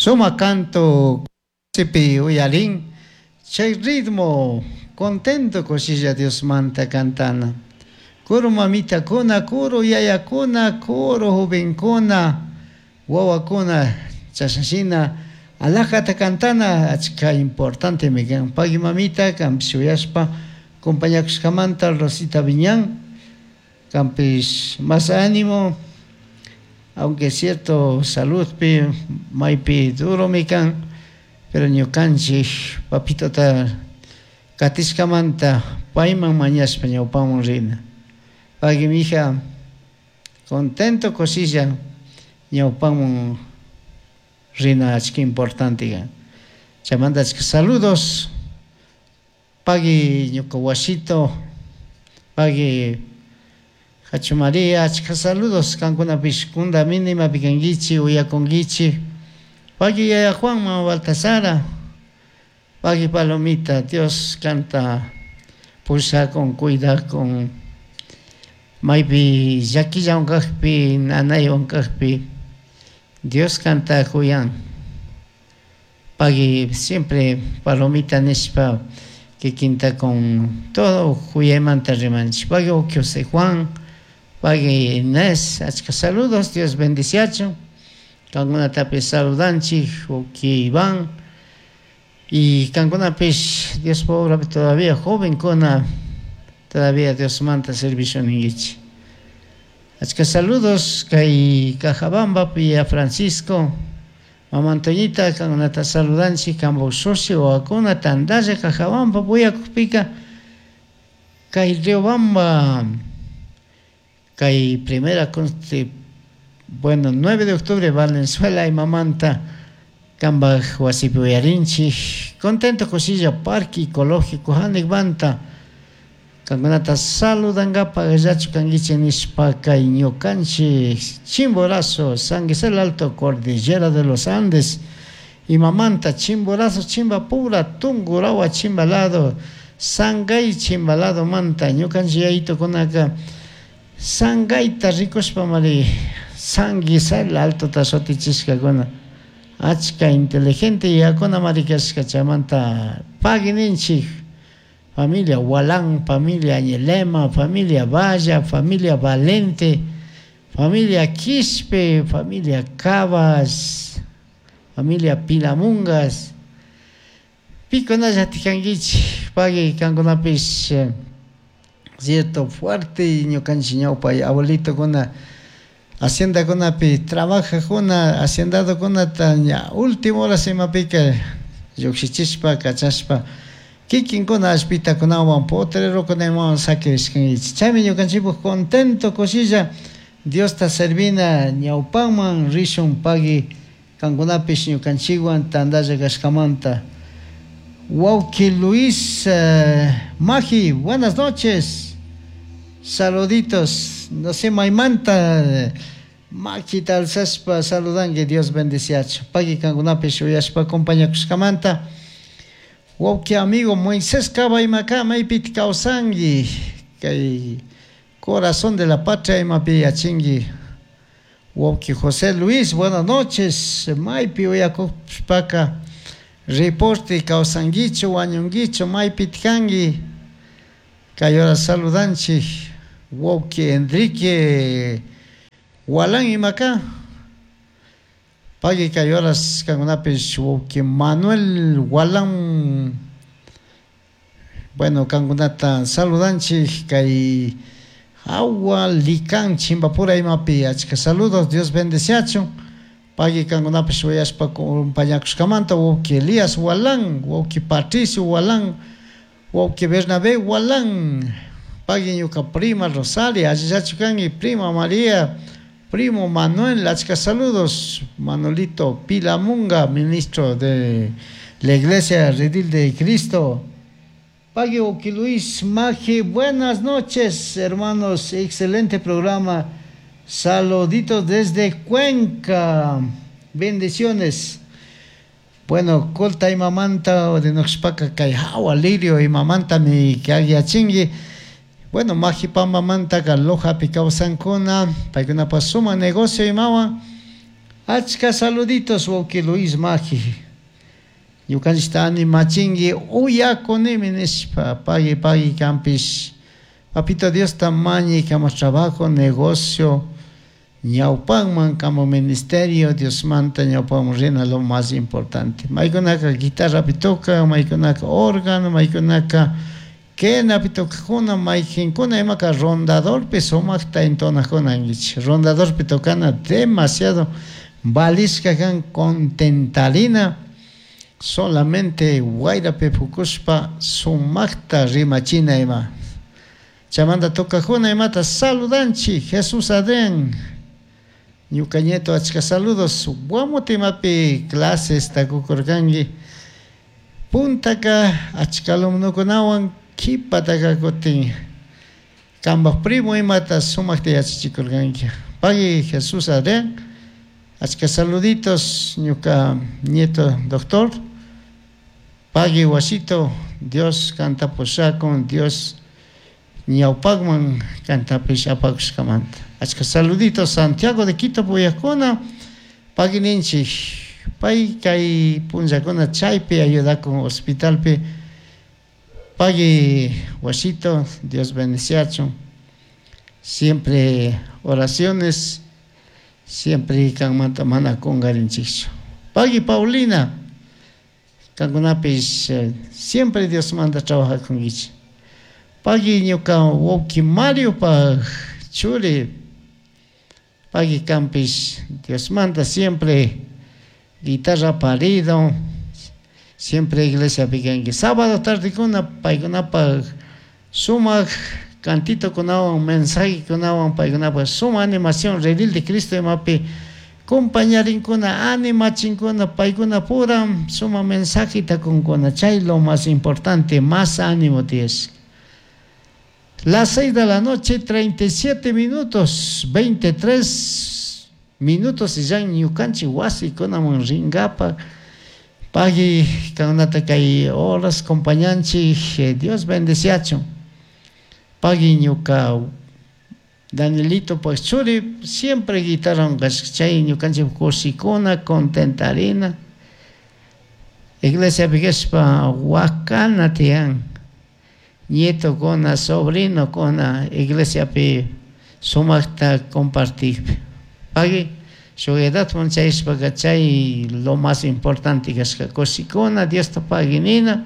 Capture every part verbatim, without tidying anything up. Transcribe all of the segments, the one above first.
Suma canto sipi uyarin chay ritmo contento kushilla Diosmanta cantana. Kuru mamitakuna, kuru yayakuna, kuru jovenkuna, wawakuna chashashina alajata cantana achka importante kan. Pagui mamita kanpish uyashpa compañakushkamanta Rosita Viñán kanpish más ánimo, aunque es cierto saludpi maypi duromi kan, pero ñukanchik papitota katishkamanta payman mañashpa ñawpaman rina. Pagui mija, contento kushilla ñawpaman rina achka importante kan. Chaymanta achka saludos, pagui ñuka wasito, pagui Hachu María, achka saludos kankunapish kundamini imapi kankichik uyakunkichik. Pagui yaya Juan, mama Baltasara, pagui Palomita, Dios kanta pushakun, cuidakun, maypi llakillawan kakpi, nanaywan kakpi, Dios kanta kuyan. Pagui siempre Palomita nishpa kikinta con todo kuyaymanta rimanchik. Pagui José Juan, pagui Inés, achka saludos, Dios bendiciachun. Kankunatapish saludanchik, uki Iván. Y kankunapish Diospa obrapi todavía jovenkuna, todavía Diosmanta servicio ninkichik. Achka saludos kay Cajabambapi a Francisco, Mama Antoñita, kankunata saludanchik, kanpak usushi wawakuna tantalla Cajabamba uyakukpika kay Riobamba, kay primera consti, bueno, nueve de octubre Valenzuela imamanta kanpak wasipi uyarinchik. Contento kushilla Parque Ecológico Hanikbanta kankunata saludankapak llachu kankichik nishpa kay ñukanchik Chimborazo, San Gisela Alto, Cordillera de los Andes, imamanta Chimborazo, Chimbapura, Tungurahua, Chimbalado, Sangay Chimbalado manta ñukanchik yayitukunaka Sangayta rikushpa mari San Gisela Altota shutichishkakuna. Achka inteligente yakuna mari kashka chaymanta pagui ninchik. Familia Walán, familia Añelema, familia Valla, familia Valente, familia Quispe, familia Cabas, familia Pilamungas. Pikunalla tikankichik, pagui kankunapish cierto fuerte ñukanchik ñawpa abuelitokuna haciendakunapi trabajajuna, haciendadokunata ña último horas imapika llukshichishpa kachashpa kikinkuna allpitakunawan potrerokunawan sakirishkankichik. Chaymi ñukanchikpuk contento kushilla Diosta servina ñawpaman rishun pagui kankunapish ñukanchikwan tantalla kashkamanta. Wawki Luis eh, Magi, buenas noches. Saluditos, no sé, maymanta makita alzashpa saludanki, Dios bendiciachu. Pagui kankunapish uyashpa acompañakushkamanta. Wawki amigo Moisés Cabaymaka maypiti kawsanki, kay corazón de la patria imapi yachinki. Wawki José Luis, buenas noches, maypi uyakushpaka reporte kawsankichu, wañunkichu, maypiti kanki. Kay hora saludanchik wawki Enrique Walán imaka. Pagui kay horas kankunapish wawki Manuel Walán. Bueno, kankunata saludanchik kay Agua Licán Chimbapura imapi achka saludos, Dios bendeciachun. Pagui kankunapish uyashpa compañakushkamanta wawki Elías Walán, wawki Patricio Walán, wawki Bernabé Walán. Pagui ñuka prima Rosalia, allillachu kanki, prima María, primo Manuel, achka saludos, Manolito Pilamunga, ministro de la Iglesia Redil de Cristo. Pagui Oki Luis Maje, buenas noches, hermanos, excelente programa. Saluditos desde Cuenca, bendiciones. Bueno, colta imamanta de Noxpaca kay hawa lirio imamanta mi kagyachingi. Bueno, Majipamba manta ka Lojapi kawsankuna, paykunapa suma negocio imawan. Achka saluditos wawki Luis Maji. Ñukanchikta animachinki uyakunimi nishpa pagui pagui kanpish. Papito Diosta mañay kama trabajo, negocio, ñawpanman kama ministerio, Diosmanta ñawpanman rina lo más importante. Maykunaka guitarrapi tocan, maykunaka órgano, maykunaka quenapi tocajuna, mayqinkuna imaka rondadorpi sumaqta entonajuna ankichik. Rondadorpi tocana demasiado valishka kan contentarina solamente wayrapi pukushpa sumaqta rimachina ima. Chaymanta tocajuna imata saludanchik Jesús Adrián. Ñuka nieto achka saludos. Guamuti imapi clases takukurkanki. Puntaka achka alumnukunawan qhipataka kutin kanpaj primo imata sumaqta yachachikurkanki. Pagui Jesús Adrián. Achka saluditos ñuka nieto doctor. Pagui wasito Dios kanta pushakun, Dios ñawpaqman kantapish apakushkamanta. Achka saluditos Santiago de Quito puyakuna pagui ninchik pay kay punllakuna chaypi ayudakun hospitalpi. Pagui wasito, Dios bendiciachun. Siempre oraciones, siempre kanmanta mana kungarinchikchu. Pagui Paulina, kankunapish siempre Dios manda trabajakunkichik. Pagui ñuka wawki Mario paj churi, pagui kanpish Dios manda siempre guitarra parido, siempre iglesiapi kanki. Sábado tardekuna paykunapaj sumaq cantito kunawan, mensaje kunawan, paykunapaj suma animación redil de Cristo imapi compañarinkuna, animachinkuna, paykuna pura suma mensajeta kunkuna. Chay lo más importante, más ánimo tienes. Las seis de la noche, treinta y siete minutos, veintitrés minutos y ya ñukanchik wasikunaman ringapa. Pagui kankunata kay horas compañanchik, Dios bendeciachun. Pagui ñuka Danielito pues churi siempre guitarra chay ñukanchik kushikuna, contentarina. Iglesia kashpa wakana tiyan. Nieto kuna, sobrino kuna, iglesiapi sumaqta compartir. Pagui shuk edadman chayashpaka chay lo más importante kashka kushikuna, Diosta paguinina.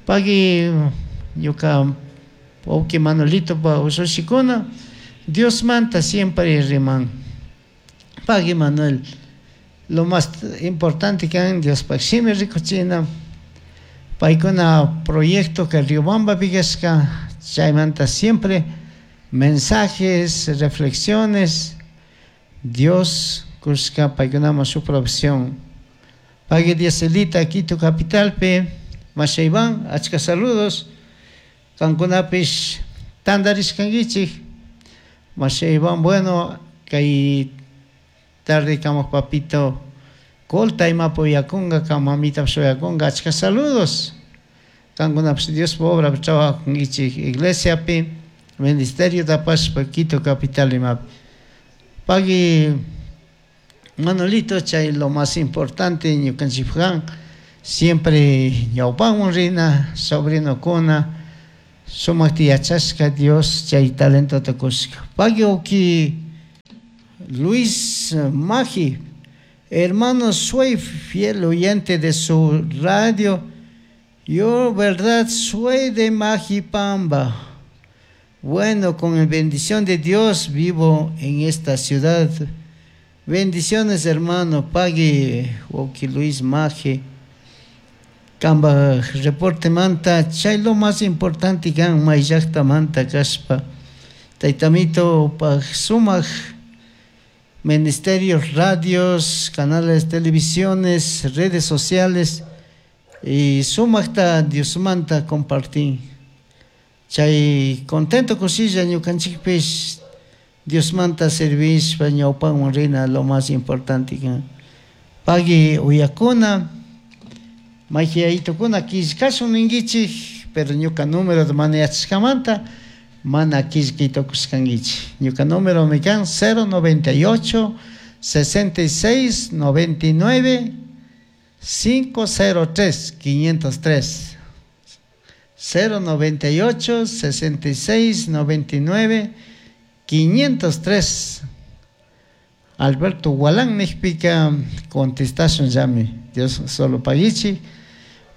Pagui ñuka wawki Manolito pa ushushikuna, Diosmanta siempre riman. Pagui Manuel, lo más importante kan Diospaj shimi rikuchina. Paykuna proyecto que Riobambapi kashka, chaymanta siempre mensajes, reflexiones, Dios kushka paykunaman shuk provisión. Pagui Dieselita Quito capitalpi, Masha Iván, achka saludos. Kankunapish tantarishkankichik. Masha Iván, bueno, kay tarde kamaq papito Colta imapi uyakunka, kan mamitapish uyakunka, achka saludos. Kankunapish Diospa obrapi trabajakunkichik iglesiapi, ministerio tapashpa Quito capital imapi. Pagui Manolito, chay lo más importante ñukanchikpaj siempre ñawpanwan rina, sobrinokuna, sumaqta yachashka Dios chay talentota kushka. Pagui wawki Luis Maji, hermano, soy fiel oyente de su radio. Yo, verdad, soy de Majipamba. Bueno, con la bendición de Dios vivo en esta ciudad. Bendiciones, hermano. Pagui wawki Luis Maji. Kamba reporte manta, chay lo más importante kan may llaqta manta kashpa. Taytamito paj sumaq ministerios, radios, canales, televisiones, redes sociales y sumaqta Diosmanta compartir. Chay contento kushilla ñukanchikpish Diosmanta servishpa ñawpanwan rina lo más importante kan. Pagui uyakuna, mayqiyaytukuna killkashun ninkichik, pero ñuka número de mana yachashkamanta mana killkaytukushkankichik. Ñuka número mi kan cero noventa y ocho sesenta y seis noventa y nueve cinco cero tres quinientos tres cero noventa y ocho sesenta y seis noventa y nueve quinientos tres. Alberto Gualán nijpika contestashun llami. Dios solo pagichi.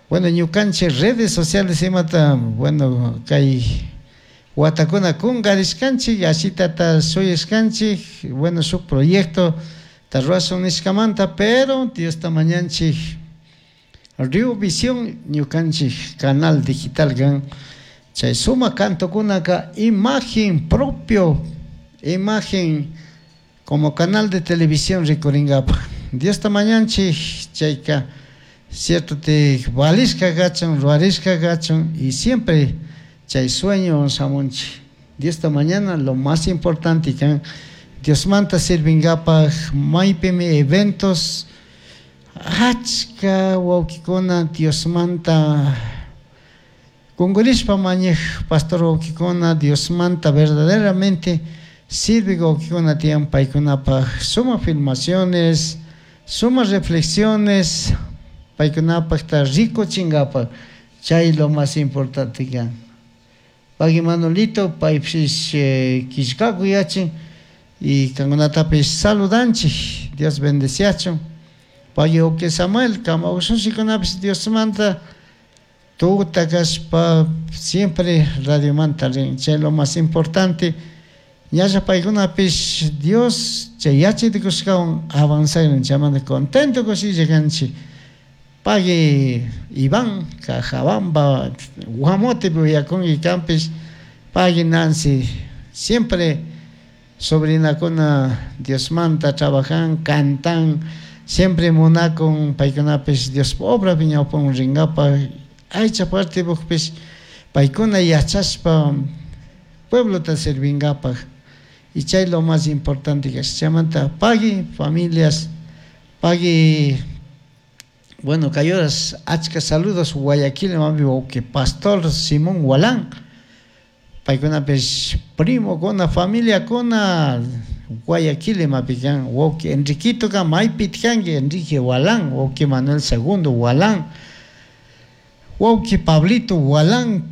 Bueno, ñukanchik redes sociales imata, bueno, kay watakuna kunkarishkanchik, ashitata shuyashkanchik, bueno, shuk proyecto ta ruwashun nishkamanta, pero Diosta mañanchik Rio Visión ñukanchik canal digital kan, chay sumak cantokunaka imagen propio, imagen como canal de televisión rikuringapaj. Diosta mañanchik chayka cierto te valishka kachun, ruwarishka kachun, y siempre chay sueño shamunchik. Diosta mañana lo más importante kan Diosmanta sirvingapaj maypimi eventos achka wawkikuna Diosmanta kunkurishpa mañaj pastor wawkikuna Diosmanta verdaderamente sirve wawkikuna tiyan paykunapaj sumak filmaciones, sumak reflexiones paykunapaj ta rikuchinkapaj chay lo más importante kan. Pagui Manolito paypish, eh, killkaku yachin y kankunatapish saludanchik, Dios bendeciachun. Pagui wawki Samuel kama ushunchikunapish Diosmanta tuta kashpa siempre radiomanta rin, chay lo más importante. Ñalla paykunapish Dios chay yachaytukushkawan avanzaynin chaymanta contento kushilla kanchik. Pagui Iván Cajabamba Guamote uyakunki kanpish, pagui Nancy siempre sobrinakuna Diosmanta trabajan, cantan, siempre munakun paykunapish Dios obra ñawpan rinkapaj aycha partipukpish paykuna yachashpa pueblota sirvinkapaj. Y chay lo más importante que es chaymanta pagui familias, pagui, bueno, kayoras achka saludos Guayaquil mami wawqi pastor Simón Gualán paykunapish primo kuna familia kuna Guayaquil imapi kan wawqi Enriquito kan maypi kanki Enrique Gualán wawqi Manuel Segundo Gualán wawqi Pablito Gualán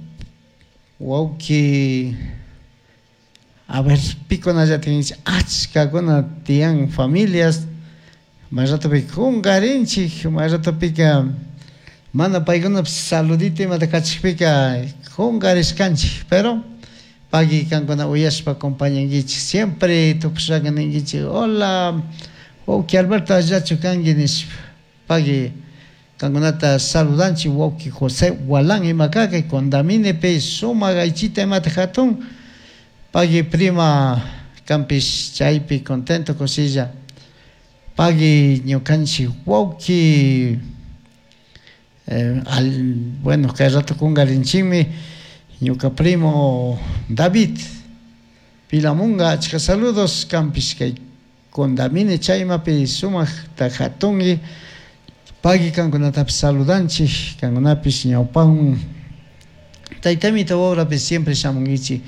wawqi a ver pikunallata ninchik achkakuna tiyan familias may ratopika kunkarinchik may ratopika mana paykunapish saludito imata kachikpika kunkarishkanchik, pero pagui kankuna uyashpa acompañankichik siempre tukushaka ninkichik hola wawqi Alberto allachu kanki nishpa pagui kankunata saludanchik wawqi José Gualán ima kaka Condaminepi sumak aychita imata hatun pagui prima kanpish chaypi contento kushilla pagui ñukanchik wawqi, eh, al, bueno, kay rato kunkarinchikmi ñuka primo David Pilamunga achka saludos kanpish kay Condamine chaymapi sumakta hatunki pagui kankunatapish saludanchik kankunapish ñawpanman taytamita wawapi siempre shamunkichik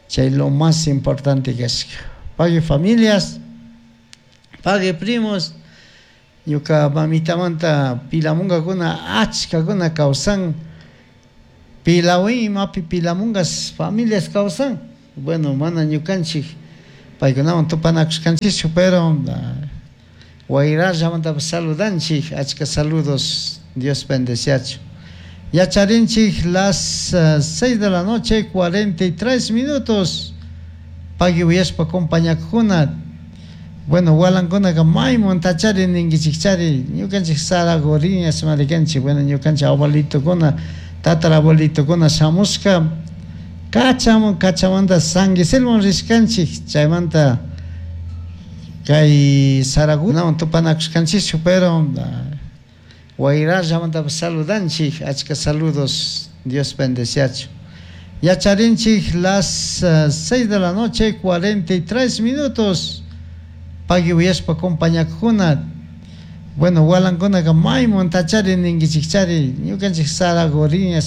chay lo más importante kashka pagui familias pagui primos ñuka mamitamanta pilamungakuna achkakuna kawsan Pilawin imapi pilamungas familias kawsan bueno mana ñukanchik paykunawan tupanakushkanchikchu pero wayrallamanta saludanchik achka saludos Dios bendeciachu yacharinchik las, eh, seis de la noche cuarenta y tres minutos pagui uyashpa compañakuna bueno walankunaka maymun tachari ninkichikchari ñukanchik Saragoriñas marikanchik bueno ñukanchik abuelitokuna tatarabuelitokuna shamushka kachamun kachamanta San Guiselman rishkanchik chaymanta kay Saragunawan tupanakushkanchikchu pero wayrallamanta saludanchik achka saludos Dios bendeciachu yacharinchik las, eh, seis de la noche cuarenta y tres minutos pagui uyashpa compañakuna bueno walankunaka maymun tachari ninkichikchari ñukanchik Saragoriñas